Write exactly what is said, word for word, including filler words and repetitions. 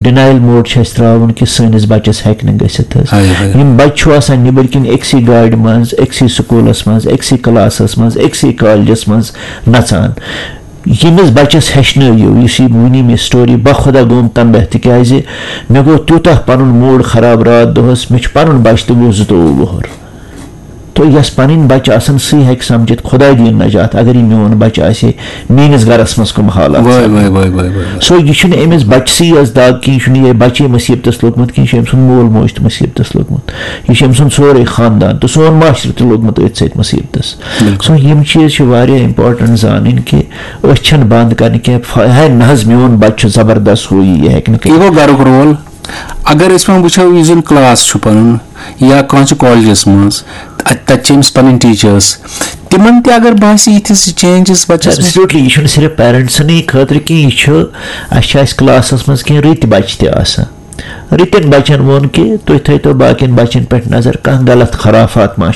Denial mode چھُ اَسہِ ترٛاوُن کہِ سٲنِس بَچَس ہیٚکہِ نہٕ گٔژھِتھ حظ۔ ہاے ہاے۔ یِم بَچہِ چھُ آسان نیٚبٕرۍ کِنۍ أکسٕے گاڑِ منٛز، أکسٕے سکوٗلَس منٛز، أکسٕے کلاسَس منٛز، أکسٕے کالجَس منٛز نَژان۔ ییٚمِس بَچَس ہیٚچھنٲیِو، یُس یہِ وٕنی مےٚ story، بخدا گوٚوُم تَمہِ دۄہ، تِکیٛازِ مےٚ گوٚو تیوٗتاہ پَنُن موڈ خراب راتھ دۄہَس، مےٚ چھُ پَنُن بَچہٕ تہِ گوٚو زٕتووُہ وُہُر۔ تہٕ یۄس پَنٕنۍ بَچہٕ آسَن، سُے ہیٚکہِ سَمجھِتھ خۄداے دِیِن نجات، اگر یہِ میون بَچہٕ آسہِ ہے، میٲنِس گَرَس منٛز کٕم حالات وٲے، سَپدَن۔ وٲے، وٲے، وٲے، وٲے، وٲے۔ So یہِ چھُنہٕ أمِس بَچسٕے یٲژ دَگ کینٛہہ، یہِ چھُنہٕ یِہوٚے بَچے مُصیٖبتَس لوٚگمُت کینٛہہ، یہِ چھُ أمۍ سُنٛد مول موج تہِ مُصیٖبتَس لوٚگمُت، یہِ چھُ أمۍ سُنٛد سورُے خاندان تہٕ سون معاشرٕ تہِ لوٚگمُت أتھۍ سۭتۍ مُصیٖبتَس۔ بِلکُل۔ So یِم چیٖز چھِ واریاہ important زانٕنۍ کہِ أچھ چھَنہٕ بنٛد کَرنہِ کینٛہہ، فا-، ہے نہ حظ میون بَچہٕ چھُ زبردست، ہُہ یہِ، یہِ ہیٚکہِ نہٕ کٔرِتھ۔ یہِ گوٚو گَرُک role۔ اگر أسۍ وۄنۍ وٕچھو، یُس زَن class چھُ پَنُن یا کانٛہہ چھُ کالجَس منٛز، تَتہِ تَتہِ چھِ أمِس پَنٕنۍ teachers، تِمَن تہِ اگر باسہِ یِتھِس changes بَچَس منٛز۔ Absolutely، یہِ چھُنہٕ صرف پیرنٹسَنٕے خٲطرٕ کینٛہہ، یہِ چھُ، اَسہِ چھِ اَسہِ کلاسَس منٛز کینٛہہ رٕتۍ بَچہِ تہِ آسان۔ رٕتٮ۪ن بَچَن ووٚن کہِ تُہۍ تھٲیتو باقیَن بَچَن پٮ۪ٹھ نظر، کانٛہہ غلط خرافات ما